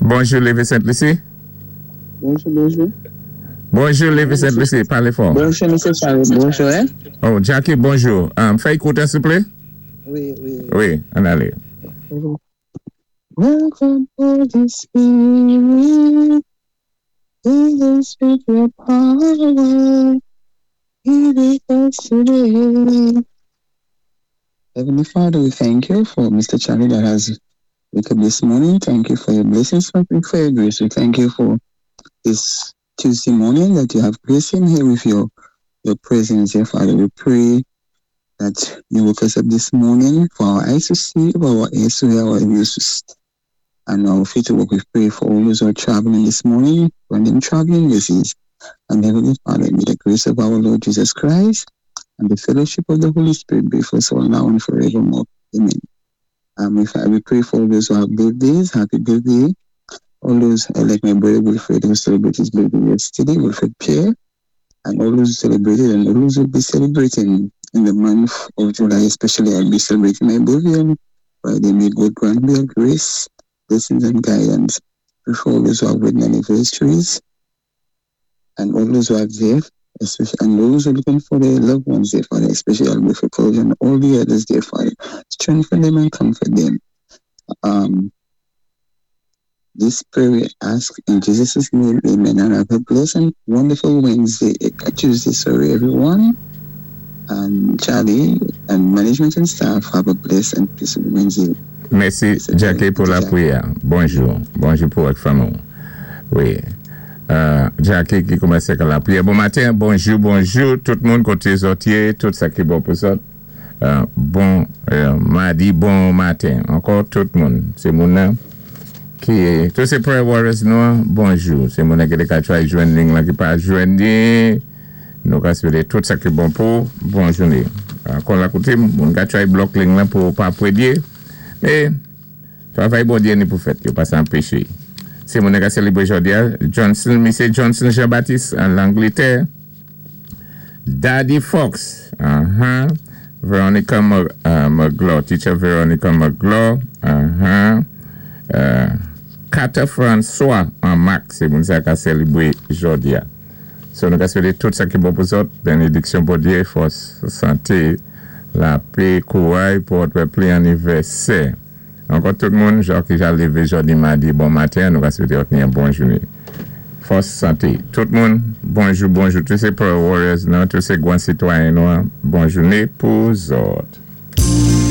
Bonjou, Lévé Sent-Lisi. Bonjou, bonjou. Bonjou, Lévé Sent-Lisi. Palé fò. Bonjou, Mesye Charles. Bonjou, en? Oh, Jackie, bonjou. Fè kout, silvouplè. Wi. Wi, ann alé. Welcome, Holy Spirit. Fill us with your power. Be with us today. Heavenly Father, we thank you for Mr. Charlie that has wake up this morning. Thank you for your blessings, for your grace. We thank you for this Tuesday morning that you have graced him here with your presence, dear Father. We pray that you woke us up this morning for our eyes to see, for our ears to hear, our ears to and our feet to walk. We pray for all those who are traveling this morning, grant them traveling mercies. And Heavenly Father, may the grace of our Lord Jesus Christ and the fellowship of the Holy Spirit be with us all now and forevermore. Amen. We pray for all those who have birthdays, happy birthday. All those, like my brother Wilfred, who celebrated his birthday yesterday, Wilfred Pierre, and all those who celebrated and all those who will be celebrating in the month of July, especially I'll be celebrating my birthday on Friday. May God grant me grace, blessings, and guidance. Pray for all those who have wedding anniversaries and all those who have death, especially, and those who are looking for their loved ones, dear Father, especially Albert College and all the others, dear Father. Strengthen them and comfort them. This prayer we ask in Jesus' name, amen. And have a blessed and wonderful Wednesday, Tuesday, sorry, everyone. And Charlie and management and staff, have a blessed and peaceful Wednesday. Mèsi, Jackie, pou lapriyè. Bonjou. Bonjou pou vòt fanmi. Wi. Jackie ki koumansé ak lapriyè. Bon maten, bonjou, bonjou, tout moun koté zòt yé, tout sa ki bon pou zòt. Bon madi, bon maten. Ankò tout moun. Sé moun nan ki tout sé prayer warriors nou, bonjou. Sé moun ki ka try jwenn liy la ki pa jwenn. Nou ka swété tout sa ki bon pou bon jouné. Ankò la koutim, moun ka try block liy la pou pa pwédyé. É travay Bondyé ni pou fèt, yo pa sa anpéché. Sé moun ki sélébwé jòdi a, Johnson, Mesye Johnson Jean-Baptiste an Langlétè. Daddy Fox, Veronica McGlaw, teacher Veronica McGlaw, Carter François an Mac, sé moun sa ka sélébwé jòdi a. So nou ka swété tout sa ki bon pou zòt, bénédiksyon Bondyé, fòs, santé, lapè, kouray pou vòt pli anivèsè. Ankò tout moun, jan ki ja lévé jòdi madi, bon maten, nou ka swété ni yon bon jouné. Fòs, santé. Tout moun, bonjou, bonjou. Tout sé prayer warriors, nou, tout sé gwan sitwayen nou, bon jouné pou zòt.